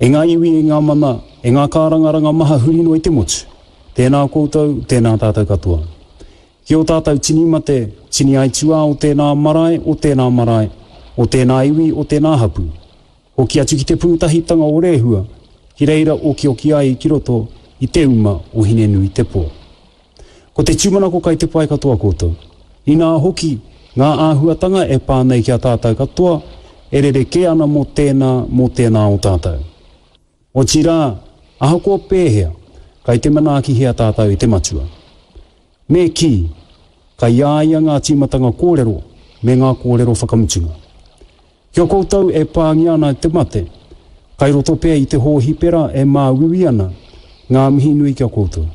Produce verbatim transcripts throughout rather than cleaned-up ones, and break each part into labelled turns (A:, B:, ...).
A: E ngā iwi, e ngā mana, e ngā kārangaranga maha huri noa i te motu. Tēnā koutou, tēnā tātou katoa. Ki o tātou tini mate, tini aituā o tēnā marae, o tēnā marae, o tēnā iwi, o tēnā hapu. Hoki atu ki te pūtahitanga o Rehua, ki reira okioki ai ki roto i te uma o Hine-nui-te-pō. Ko te tūmanako kai te pai katoa koutou. Inā hoki, ngā āhuatanga e pā nei ki a tātou katoa, e rerekē ana mō tēnā, mō tēnā o tātou. Otirā, ahakoa pēhea, kai te manaakihia tātou e te Matua. Me kī, kai a ia ngā tīmatanga kōrero me ngā kōrero whakamutunga. Ki a koutou e pāngia ana e te mate, kai roto pea i te hōhipera e māuiui ana, ngā mihi nui ki a koutou.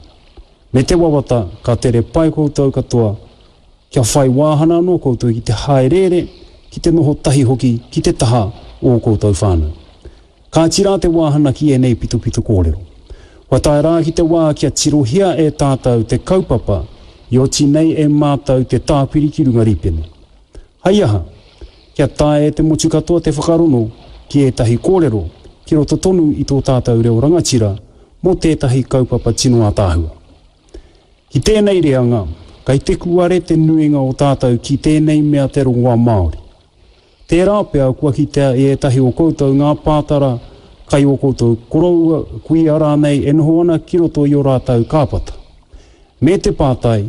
A: Me te wawata ka tere pai koutou katoa, kia whai wāhana anō koutou ki te hāereere, ki te noho tahi hoki ki te taha o ō koutou whānau. Kāti rā te wāhana ki ēnei pitopito kōrero. Kua tae rā ki te wā kia tirohia e tātou te kaupapa i oti nei e mātou te tāpiri ki runga rīpene. Hai aha, kia taea e te motu katoa te whakarono ki ētahi kōrero ki roto tonu i tō tātou reo rangatira mō tētahi kaupapa tino ātaahua. Ki tēnei reanga, kai te kuare te nuinga o tātou ki tēnei mea te rongoā Māori. Tērā pea kua kitea e ētahi o koutou ngā pātara kai ō koutou koroua, kuia rānei e noho ana ki roto i ō rātou kāpata. Me te pātai,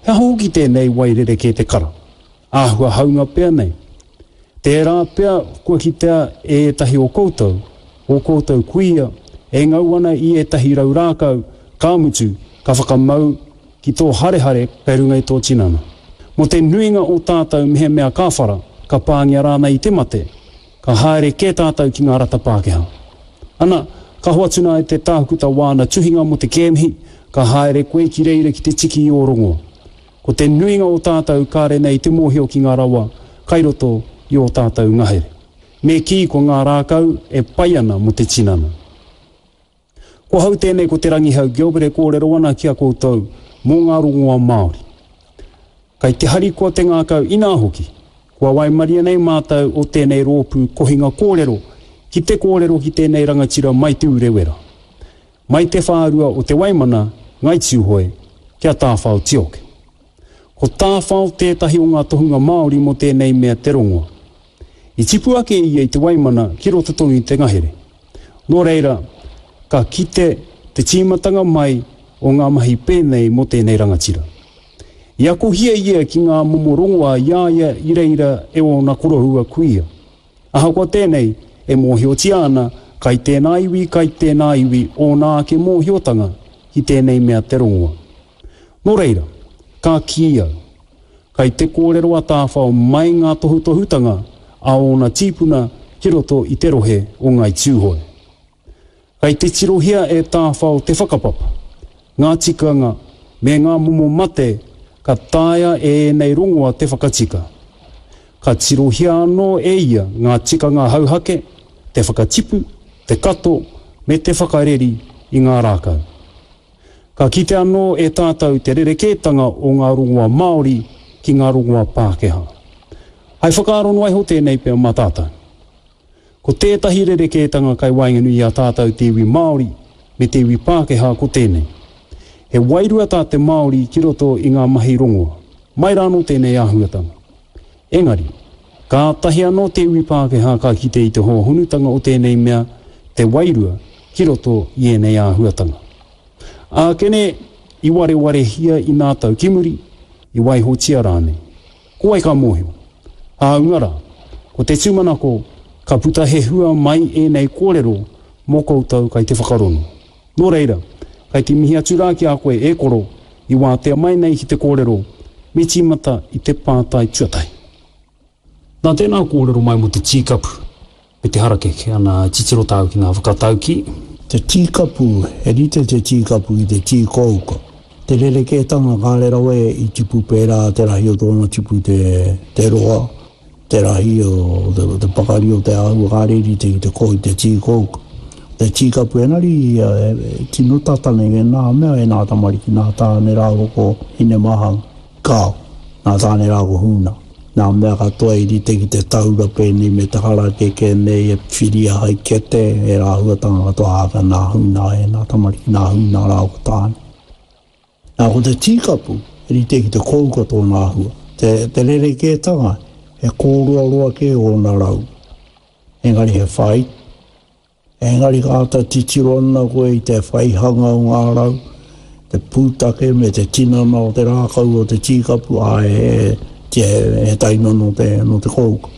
A: he aha hoki tēnei wai rerekē te kara? Āhua haunga pea nei. Tērā pea kua kitea e ētahi o koutou, ō koutou kuia, e ngau ana i ētahi rau rākau, ka mutu, ka whakamau ki tō harehare kei runga i tō tinana. Mō te nuinga o tātou mehemea ka whara, ka pāngia rānei i te mate, ka haere kē tātou ki ngā rata Pākehā. Ana, ka hoatu nā e te tākuta wāna tuhinga mō te kēmihi, ka haere koe ki reira ki te tiki i ō rongoa. Ko te nuinga o tātou kāre nei te mōhio ki ngā rawa kai roto i ō tātou ngahere. Me kī ko ngā rākau e pai ana mō te tinana. Ko hau tēnei ko Te Rangihau Gilbert e kōrero ana ki a koutou mō ngā rongoa Māori. Kai te harikoa te ngākau inā hoki, kua waimaria nei mātou o tēnei rōpū kohinga kōrero ki te kōrero ki tēnei rangatira mai Te Urewera, mai te whārua o Te Waimana, Ngai Tūhoe, ki a Tāwhao Tioke. Ko Tāwhao tētahi o ngā tohunga Māori mō tēnei mea te rongoa. I tipu ake ia i Te Waimana ki roto tonu i te ngahere. Nō reira, ka kite te tīmatanga mai o ngā mahi pēnei mō tēnei rangatira. I akohia ia ki ngā momo rongoa i a ia i reira e ōna koroua kuia. Ahakoa tēnei, e mōhiotia ana kai tēnā iwi, kai tēnā iwi ōna ake mōhiotanga ki tēnei mea te rongoa. Nō reira, ka kī au, kai te kōrero a Tāwhao mai ngā tohutohutanga a ōna tīpuna ki roto i te rohe o Ngāi Tūhoe. Kai te tirohia e Tāwhao te whakapapa, ngā tikanga me ngā momo mate ka taea e ēnei rongoa te whakatika. Ka tirohia anō e ia ngā tikanga hauhake, te whakatipu, te kato me te whakareri i ngā rākau. Ka kite anō e tātou te rerekētanga o ngā rongoa Māori ki ngā rongoa Pākehā. Hai whakaaro noa iho tēnei pea mā tātou. Ko tētahi rerekētanga kai waenganui i a tātou te iwi Māori me te iwi Pākehā ko tēnei. He wairua tā te Māori ki roto i ngā mahi rongoa. Mai rānō tēnei āhuatanga. Engari, kātahi anō te iwi Pākehā ka kite i te hōhonutanga o tēnei mea, te wairua, ki roto i ēnei āhuatanga. Ākene, i warewarehia i nā tau ki muri, i waihotia rānei. Ko wai ka mōhio? Hāunga rā, ko te tūmanako, ka puta he hua mai ēnei kōrero mō koutou kai te whakarongo. Nō reira, kai te mihi atu rā ki a koe e koro, i wātea mai nei ki te kōrero, me tīmata i te pātai tuatahi. Nā tēnā kōrero mai mō te tīkapu me te harakeke, ana titiro tāu ki ngā whakataukī.
B: Te tīkapu, he rite te tīkapu ki te tī kouka. Te rerekētanga kāre rawa i tipu pērā te rahi o tōna tipu te, te roa, te rahi o te, te pakari o te āhua kāre i rite ki te koi te tī kouka. Te tīkapu engari ia e, e tino tata nei e nā mea e nā tamariki nā tāne rāua ko Hinemahanga. Kāo, nā tāne rāua ko Hūna. Nā mea katoa i rite ki te taura pēnei me te harakeke nei e whiria hai kete, e rāhuatanga katoa āwha nā huna e nā tamariki, nā huna rā o tāne. Nā ko te tīkapu, e rite ki te kouka tōna āhua. Te, te rerekētanga, he kōroaroa ke ōna rau. Engari he whai. Engari ka āta titiro ana koe i te whaihanga o ngā rau, te pūtake me te tinana o te rākau o te tīkapu, a e, e, e taina no te, no te kouka.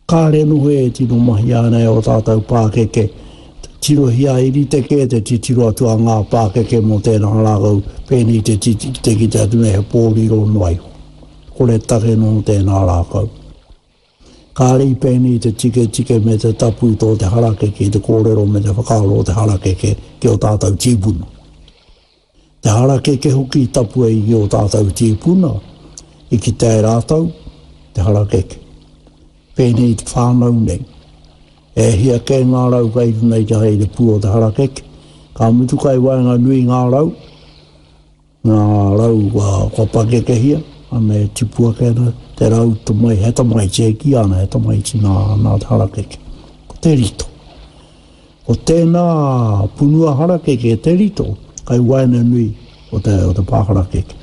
B: Kāre noho e tino mahi ana e o tātou pākeke. Tirohia i rite kē te titiro atu a ngā pākeke mō tēnā rākau, pēnei te, te, te ki te atu nei he pōriro noa iho. Kore take no tēnā rākau. Kāre i pēnei te tike tike me te tapu tō te harakeke, te kōrero me te whakaaro o te harakeke ki o tātou tīpuna. Te harakeke hoki i tapu ai ki o tātou tīpuna, i ki te rātou, te harakeke. Pēnei te whānau nei. E hia kē ngā rau kai runa i te hei te pū o te harakeke. Ka mutu kai waenga nui ngā rau, ngā rau kua, kua pakekehia, ana e tipu ake ana, te rau tamai, he tamaiti e ki ana, he tamaiti nā, nā te harakeke. Ko te rito. Ko tēnā punua harakeke te rito, kai waenga nui o te, o te pā harakeke.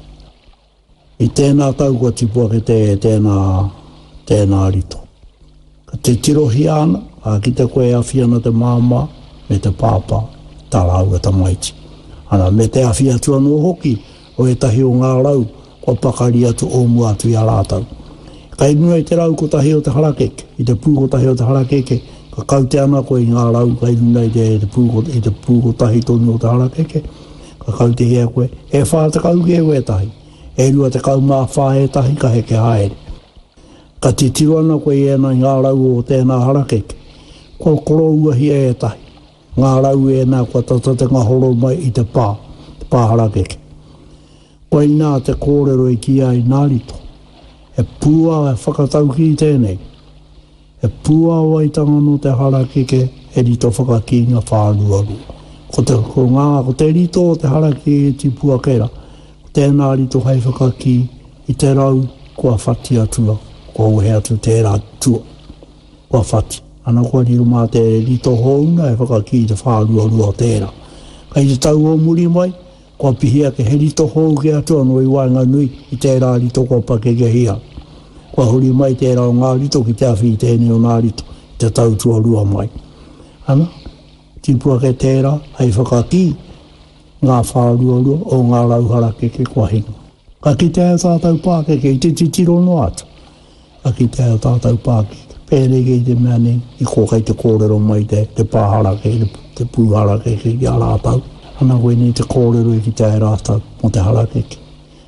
B: I tēnā tau kua tipu ake te, tēnā, tēnā rito. Ka te tirohia ana, ka kite koe e awhi ana te māmā me te pāpā, tā rāua tamaiti. Ana, me te awhi atu anō hoki o ētahi o ngā rau kua pakari atu o mua atu i a rātou. Kai runga i te rau kotahi o te harakeke, i te pū kotahi o te harakeke, ka kaute ana koe i ngā rau kai runga i te, te pū, i te pū kotahi tonu o te harakeke, ka kautehia koe, e whā tekau ke wētahi, e rua tekau mā whā ētahi ka heke haere. Ka titiro ana koe i ēnā i ngā rau o tēnā harakeke, kua korouahia ētahi, ngā rau ēnā kua tata te ngahoro mai i te pā, te pā harakeke. Koinā te kōrero i ki ai nā rito. He pūa e whakatauki i tēnei. He pūāwaitanga no te harakeke he rito whakakīnga whāruarua. Ko te, ko ngā, ko te rito o te harakeke e tipu ake rā, ko tēnā rito hei whakakī i te rau kua whati atua, kua wehe atu tērā tua, kua whati. Ana kua riro mā te rito houna e whakakī i te whāruarua o tērā. Kai te tau o muri mai, kua pihi ake he rito hou ke atu anō i waenga nui i tērā rito kua pakekehia. Kua huri mai tērā o ngā rito ki te awhi i tēnei o ngā rito, i te tau tuarua mai. Ana, tipu ake tērā, hei whakakī ngā whāruarua o ngā rau harakeke kua hinga. Ka kitea e tātou pākeke i te titiro noa atu. Ka kitea e tātou pākeke. Pēnei kei te mea nei, i ko kei te kōrero mai te, te pā harakeke, te, te pū harakeke ki a rātou. Ana koe nei te kōrero i kitea e rātou mō te harakeke.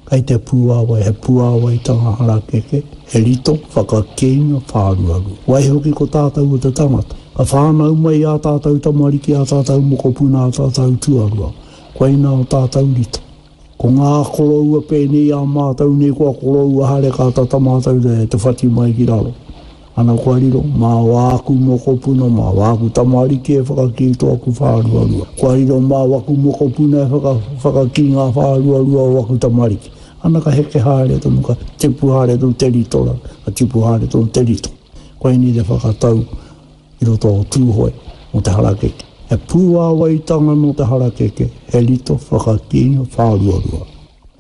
B: Kai te pūāwai, he pūāwaitanga harakeke, he rito whakakīnga whāruarua. Waihoki ko tātou o te tangata. Ka whānau mai ā tātou tamariki, ā tātou mokopuna, ā tātou tuarua. Koinā o tātou rito. Ko ngā koroua pēnei ā mātou nei kua koroua haere ka tata mātou te, te whati mai ki raro. Ana kua riro, mā wāku mokopuna, mā wāku tamariki e whakakī tō aku whāruarua. Kua riro mā waku mokopuna e whaka, whakakī ngā whāruarua o waku tamariki. Ana ka heke haere tonu, ka tipu haere tonu te rito ra, ka tipu haere tonu te rito. Koinei te whakatau i roto o Tūhoe mō te harakeke. He pūāwaitanga no te harakeke, he rito whakakīnga whāruarua.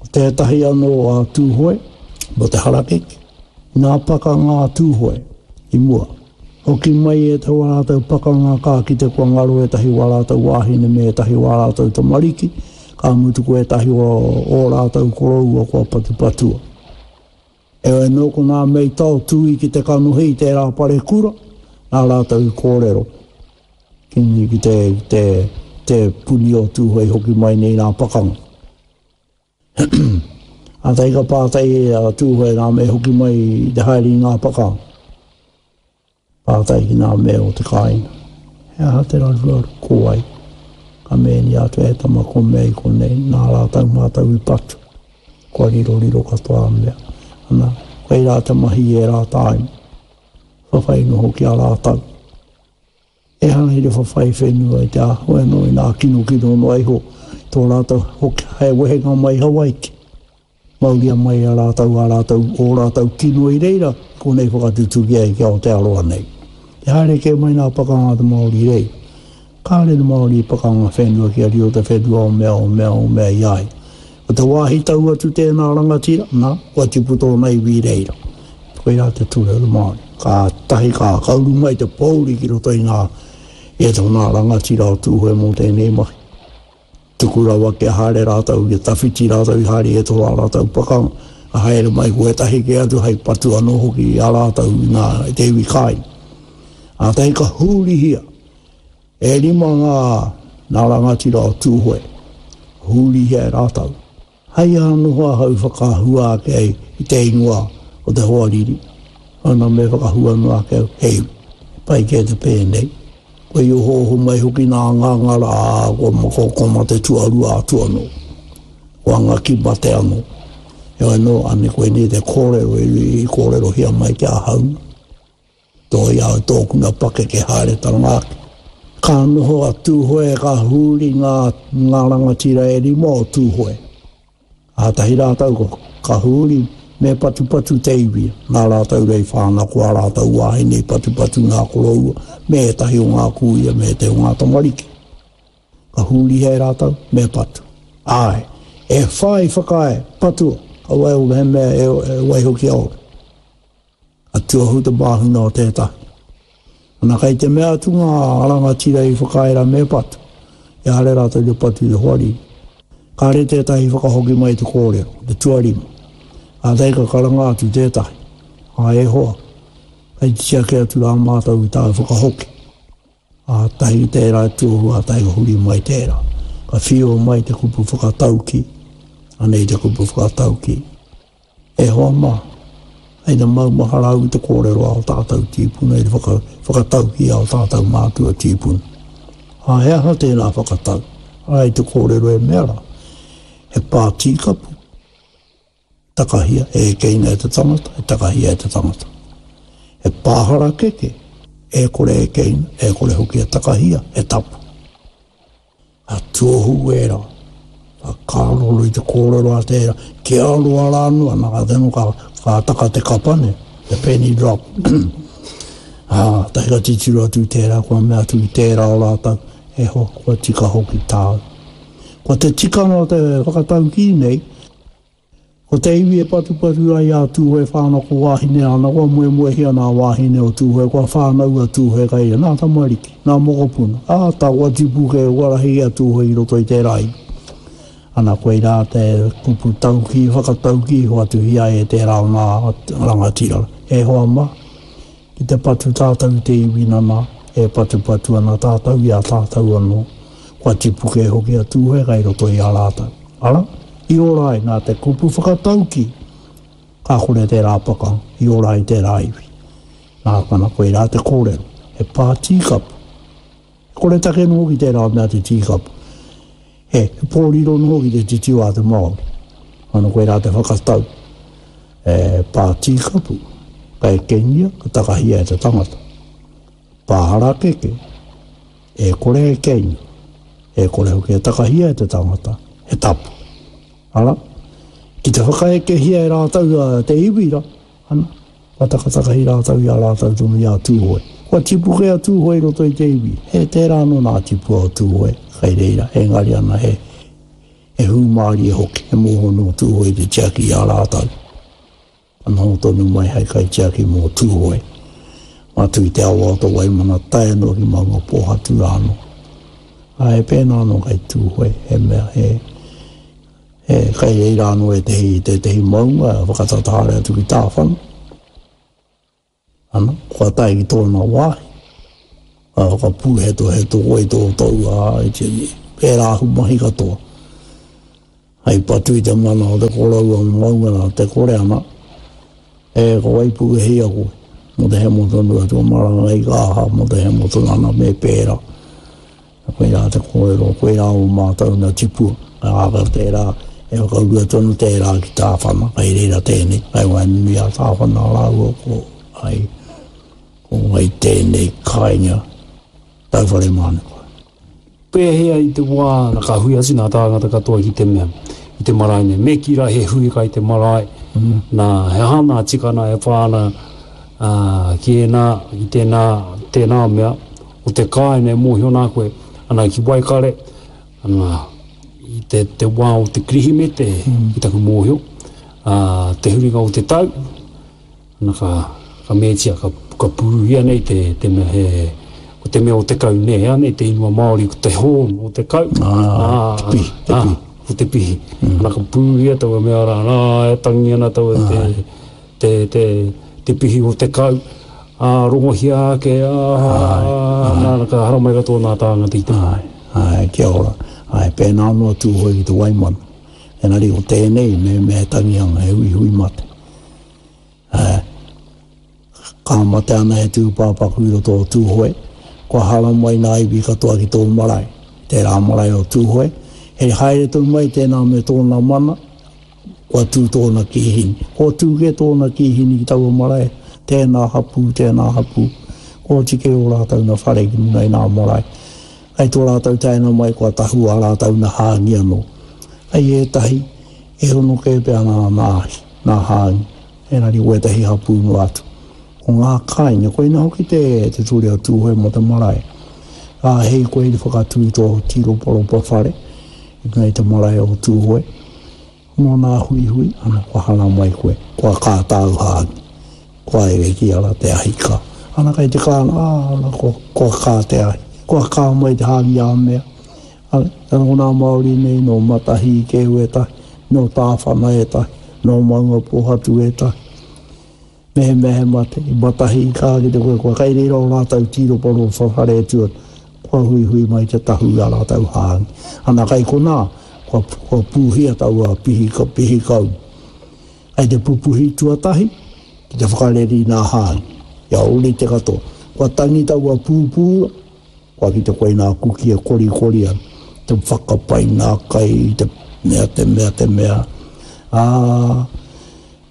B: Ko tētahi anō a Tūhoe mō te harakeke, nā pakanga a Tūhoe i mua. Hoki mai e te wā rātou pakanga ka ki te kua ngaro ētahi wā rātou wāhine me ētahi wā rātou tamariki, ka mutu ko ētahi o, o rātou koroua kua patupatua. E anō ko ngā mei tao tui ki te kanohi i tērā parekura, nā rātou i kōrero. Ki, ki te, te, te puni o Tūhoe hoki mai nei nā pakanga. A tai ka pātai a Tūhoe nā me hoki mai i te haere i ngā pakanga. Pātai ki ngā mea o te kāinga. He aha te raruraru, ko wai. Ka mēni atu e tama ko mea i konei, nā rātou mātou i patu. Kua riro riro katoa mea. Ana, koe rā te mahi e rā tāima. Whawhai noho ki a rātou. E hanga i te whawhai whenua i te āhua anō i nā kino kino noa iho. Tō rātou hoki hei wehenga mai Hawaiki. Mauria mai a rātou, a rātou, o rātou kino i reira, konei whakatutuki ai ki Aotearoa nei. Te haere kē mai nā pakanga a te Māori i reira. Kāre te Māori i pakanga whenua kia riro te whenua o mea, o mea, o mea i a ia. Ko te wāhi tau atu tēnā rangatira, nā, kua tipu tōna iwi i reira. Koirā te ture o te Māori. Kātahi ka kauru mai te pōuri ki roto i ngā, i ētahi o ngā rangatira o Tūhoe mō tēnei mahi. Tuku rawa kia haere rātou, kia tawhiti rātou i haere i ētahi o ā rātou pakanga, ka haere mai ko ētahi kē atu hei patu anō hoki i a rātou i ngā, i te iwi kāinga. Kātahi ka hurihia, e rima ngā, ngā rangatira o Tūhoe, hurihia e rātou. Hei aha noho ahau i whakahua ake ai i te ingoa o te hoariri, ana me whakahua noa ake au, he iwi. He pai kē te pēnei. Kua i ohooho mai hoki nā ngāngara, ā, kua kua mate tuarua atu anō. Kua ngaki mate anō. Heoi anō, ane koinei te kōrero i kōrerohia mai ki ahau. Toi au tōku na pakeke haeretanga ake. Ka noho a Tūhoe, ka huri ngā, ngā rangatira e rima o Tūhoe. Kātahi rātou ko, ka huri, me patupatu te iwi, nā rātou rei whānau ko ā rātou wāhine i patupatu ngā koroua, me ētahi o ngā kūia, me ētahi o ngā tamariki. Ka hurihia e rātou, me patu. Āe, e whā i whakaae, patua, kaua e he mea e, e waiho kia ora. Ka tuahu te māhunga o tētahi. Ana kei te mea atu ngā rangatira i whakaae rā me patu, i haere rātou ki te patu i te hoariri. Kāre tētahi i whakahoki mai te kōrero, te tuarima. Kātahi ka karanga atu tētahi, Ā, e hoa, kei te tiaki atu rā mātou i tāu whakahoki. Kātahi tērā e tuahu, kātahi ka huri mai tērā. Ka whiua mai te kupu whakataukī, anei te kupu whakataukī. E hoa mā, hei te maumahara au i te kōrero a ō tātou tīpuna, i te whaka, whakataukī a ō tātou mātua tīpuna. Ā, he aha tēnā whakatau? Arā i te kōrero e mea rā, he pā tīkapu, takahia, e ekeina e te tangata, e takahia e te tangata. He pā harakeke, e kore e ekeina, e kore hoki e takahia, he tapu. Ka tuohu ērā, ka karoro i te kōrero a tērā, kia roa rā noa, nā ka tino ka, ka taka te kapane, the penny drop. Ā, tahi ka titiro atu i tērā, kua mea atu i tērā o rātou, e hoa, kua tika hoki tāu. Ko te tikanga o te whakataukī nei, Ko te iwi e patupatu ai a Tūhoe whānau ko wāhine ana, kua moemoehia nā wāhine o Tūhoe, kua whānau a Tūhoe kai ia, nā tamariki, nā mokopuna, ā, tā kua tipu kē, kua rahi a Tūhoe i roto i tērā iwi. Ana, koirā te kupu taukī, whakataukī hoatuhia ai e tērā o ngā rangatira. E hoa mā, ki te patu tātou i te iwi nana, e patupatu ana tātou i a tātou anō, kua tipu kē hoki a Tūhoe kai roto i a rātou. Ara, i ora ai nā te kupu whakataukī, ka kore tērā pakanga, i ora ai tērā iwi. Nā kana koirā te kōrero, he pā tīkapu. He koretake noho ki tērā mea te tīkapu. He, he pōriro noho ki te titiro a te Māori. Ana koirā te whakatau, he pā tīkapu, ka ekengia, ka takahia e te tangata. Pā harakeke, e kore e keinga, e kore hoki e takahia e te tangata, he tapu. Ara, ki te whakaekehia e rātou te iwi ra, ana, kua takatakahi rātou i a rātou tonu i a Tūhoe. Kua tipu kē a Tūhoe i roto i te iwi. He tērā anō nā tipua o Tūhoe kei reira, engari ana he, he hūmārie hoki, he mōhio nō Tūhoe te tiaki i a rātou. Ka noho tonu mai hei kaitiaki mō Tūhoe, atu i te awa o Waimana tae noa ki Maungapōhatu rā anō. Ā, he pēnā anō kei Tūhoe, he mea, he, he kai reira anō ētehi, tētehi maunga e whakatata haere atu ki Tāwhana. Ana, kua tae ki tōna wāhi, ka whakapūhetoheto koe i tō tou, ā, i te, pērā aku mahi katoa. Hei patu i te mana o te koroua o maunga nā te kore ana, e ko Waipuke-hia koe, mō te hemo tonu atu o maranga i ka aha, mō te hemo tonu ana me pērā. Koirā te kōrero, koirā o mātou nā tipua, ka āka tērā, e whakaurua tonu tērā ki Tāwhana, kei reira tēnei, kei waenganui a Tāwhana rāua ko ai, ko wai tēnei kāinga, Tauwhare Mānuka.
A: Pēhea i te wā ka hui atu ngā tāngata katoa ki te mea, i te marae nei. Me ki rā he hui kai te marae, mm. nā, he aha nā tikana e pā ana uh, ki ēnā, ki tēnā, tēnā mea, o te kāinga e mōhio nā koe, ana ki Waikare, ana, i te, te wā o te Kirihimete, mm. ki taku mōhio, uh, te huringa o te tau, ana ka, ka mētia, ka, ka pūruhia nei te, te mea he, ko te mea o te kau nei, anei te ingoa Māori, ko te horn o te kau.
B: Ah, te pihi, te pihi.
A: Ko te pihi. Mm. Ana ka pūruhia taua mea rā, nā, e tangi ana taua te, te, te, te pihi o te kau, ā, rongohia ake, ā, nā, ka haramai katoa nā tāngata i te.
B: Ai, ai, kia ora. Ai, pēnā noa Tūhoe ki te Waimana. Engari ko tēnei, me me he tangihanga, he huihui mate. Ai, ka mate ana he tūpāpaku i roto o Tūhoe, kua haramai nā iwi katoa ki tō marae, tērā marae o Tūhoe, he haere tonu mai tēnā me tōna mana, kua tū tōna kīhini. Kua tū ke tōna kīhini ki taua marae, tēnā hapū, tēnā hapū, kua tike o rātou na whare ki runga i nā marae. Hei tō rātou taena mai kua tahu a rātou na hāngi anō. Hei ētahi, e hono kē pea nā nā ahi, nā hāngi, engari wētahi hapū noa atu. Ko ngā kāinga, koina hoki te, te ture o Tūhoe mō te marae. Ā, hei koe i whakatū i tō tīroparopa whare, i runga i te marae o Tūhoe, mō nā huihui, ana, kua haramai koe, kua kā tāu hāngi, kua ere ki ara te ahi kā. Ana kai te kāna, ā, ana, kua, kua kā te ahi, kua kā mai te hāngi a mea. Ana, ko nā Māori nei, nō Matahi i keu ētahi, nō Tāwhana ētahi, nō Maungapōhatu ētahi. Me he mea he mate, i Matahi i kā ki te koe, kua kai reira o rātou tīroparopa whare e tua, kua huihui mai te tahu i a rātou hāngi. Ana kai konā, kua, kua pūhia taua pihi, pihi kau. Kai te pupuhi tuatahi, ki te whakareri nā hāngi. Ia ori te katoa. Kua tangi taua pūpūra, kua ki te koe nā kuki e korikori ana, te whakapai nā kai, te mea, te mea, te mea. Ā,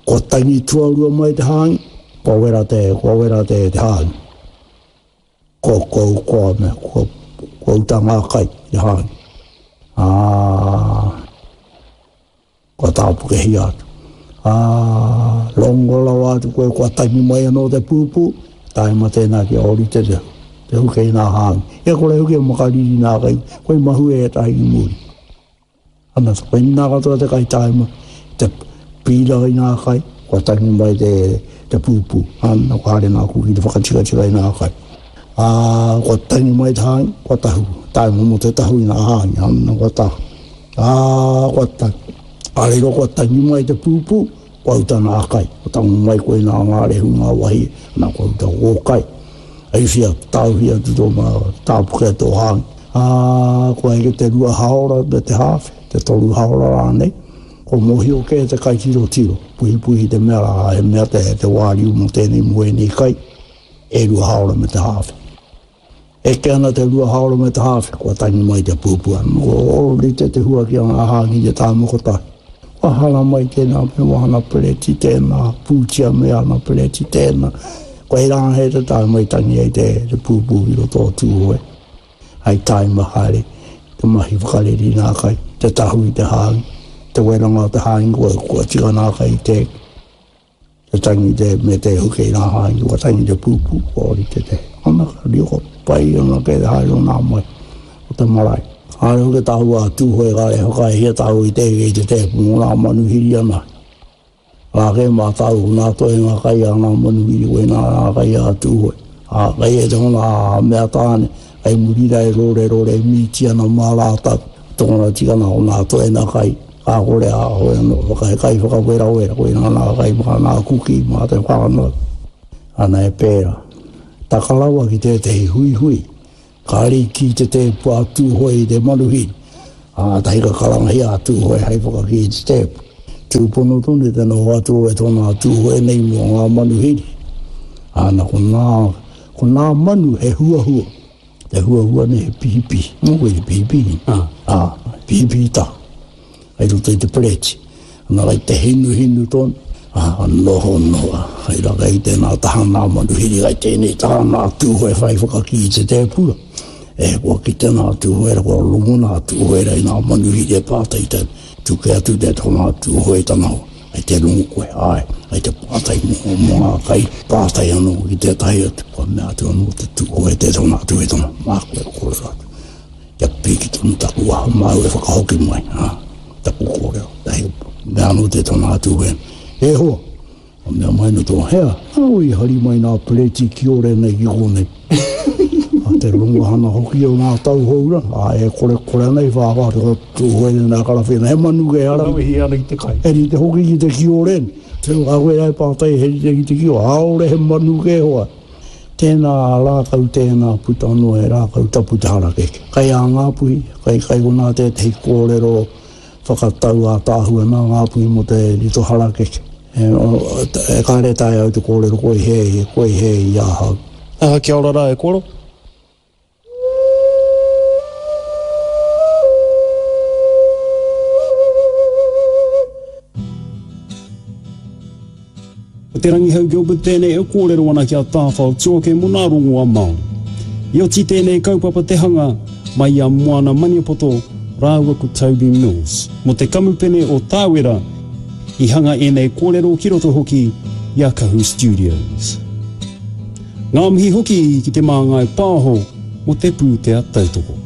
B: kua tangi tuarua mai te hāngi, kua wera te, kua wera te, te hāngi. Kua, kua, kua, mea, kua, kua uta ngā kai te hāngi. Ā, kua tāpukehia atu. Ā, rongo rawa atu koe, kua tangi mai anō te pūpū, tae ma tēnā ki ori te te, te huke i nā hāngi. Ia kore huke makariri nā kai, koe mahue e tahi i muri. Ana, koe nā katoa te kai tae ma, te pīra i nā kai, kua tangi mai te, te pūpū. Ana, kua haere nā kuki te whakatikatika i nā kai. Ā, kua tangi mai te hāngi, kua tahu. Tae momo te tahu i nā hāngi, ana, kua tahu. Ā, kua tangi. Ā, reiro kua tangi mai te pūpū, kua uta nā kai. Kua tango mai koe nā ngā rehu ngā wahi, ana kua uta kō kai. Ai whia, tāuhia tu tō mā, tāpuke tō hāngi. Ā, kua eke te rua haora me te hāwhe, te toru haora rānei. Ko mōhio kē te kai tiro tiro, puhipuhi te mea rā, he mea te, te wāriu mō tēnei mō ēnei kai, e rua haora me te hāwhe. Eke ana te rua haora me te hāwhe, kua tangi mai te pūpua. Ko ori te te hua ki a ngā hāngi te tāmoko tahi. Kua hara mai tēnā me wahana pereti tēnā, pūtia me ana pereti tēnā. Kua hei rā he te tae mai tangi ai te, te pūpū i roto o Tūhoe. Hei taima haere, te mahi whakareri nā kai, te tahu i te hāngi, te weranga o te hāngi, kua, kua tika nā kai te, te tangi te, me te huke i nā hāngi, kua tangi te pūpū, kua ori te te. Ana ka riko pai ana ke te haere o nā mai, o te marae. Haere hoki tāu a Tūhoe kāre whakaehia tāu i te i te tēpu mō nā manuhiri ana. Rā ke mā tāu nā toe ngā kai a ngā manuhiri koe nā ngā kai a Tūhoe. Ā, kai e te hona a mea tāne, kai muri rā e rore rore mīti ana mā rātau. Tōna tikana o nā toe nā kai, kā kore a hoi anō, whakahe kai whakawera wera, koe nā nā kai mā nā kuki mā te whānau. Ana e pērā. Takarawa ki tētehi huihui, kāre i ki te tēpu a Tūhoe i te manuhiri. Ā, tahi ka karangahia a Tūhoe hei whakakī i te tēpu. Tūpono tonu te noho atu e tōna Tūhoe nei mō ngā manuhiri. Ana, ko nā, ko nā manu he huahua. Te huahua nei he pihipihi. Mō koe te pihipihi.
A: Ah.
B: Ā, pihipihi tahu. Hei roto i te pereti. Ana kai te hinu hinu tonu. Ā, noho noa. Hei rā kai tēnā taha nā manuhiri, kai tēnei taha nā Tūhoe whai whakakī i te tēpura. E, kua kite nā Tūhoe, kua rongo nā Tūhoe i nā manuhiri e pātai tau. Tuke atu te tona Tūhoe tana hoa. Kei te rongo koe, āe, kei te pātai mō, mō ngā kai, pātai anō ki tētahi atu, kua mea atu anō te Tūhoe te tona atu e tona, māku e kōrero atu. Kia piki tonu taku waha, māu e whakahoki mai, ā, taku kōrero. Tahi, mea anō te tona atu e, e hoa, Ka mea mai no tō hea, nāu i hari mai nā pereti kiore nei ki kōnei. A te rongohana hoki o ngā tauhou ra, a e korekore ana i whāwhā te tūhoe nei nā karawhena, he manu kei ara.
C: Wehi ana ki te kai.
B: He rite hoki ki te kiore. Tēnā ka koe ai pātai he rite ki te kiore, āore he manu kē hoa. Tēnā rākau tēnā puta noa he rākau tapu te harakeke. Kai a Ngāpuhi, kai kai konā tētehi kōrero whakatau ātaahua nā Ngāpuhi mō te rito harakeke. E kāre taea au te kōrero koi hē, koi hē i ahau.
A: Aha, kia ora rā e koro. Ko Te Rangihau Gilbert tēnei e kōrero ana ki a Tāwhao Tuoke mō nā rongoa Māori. I oti tēnei kaupapa te hanga mai i a Moana Maniapoto rāua ko Toby Mills mō te kamupene o Tāwera i hanga ēnei kōrero ki roto hoki i a Kahu Studios. Ngā mihi hoki ki Te Māngai Pāho mō te pūtea tautoko.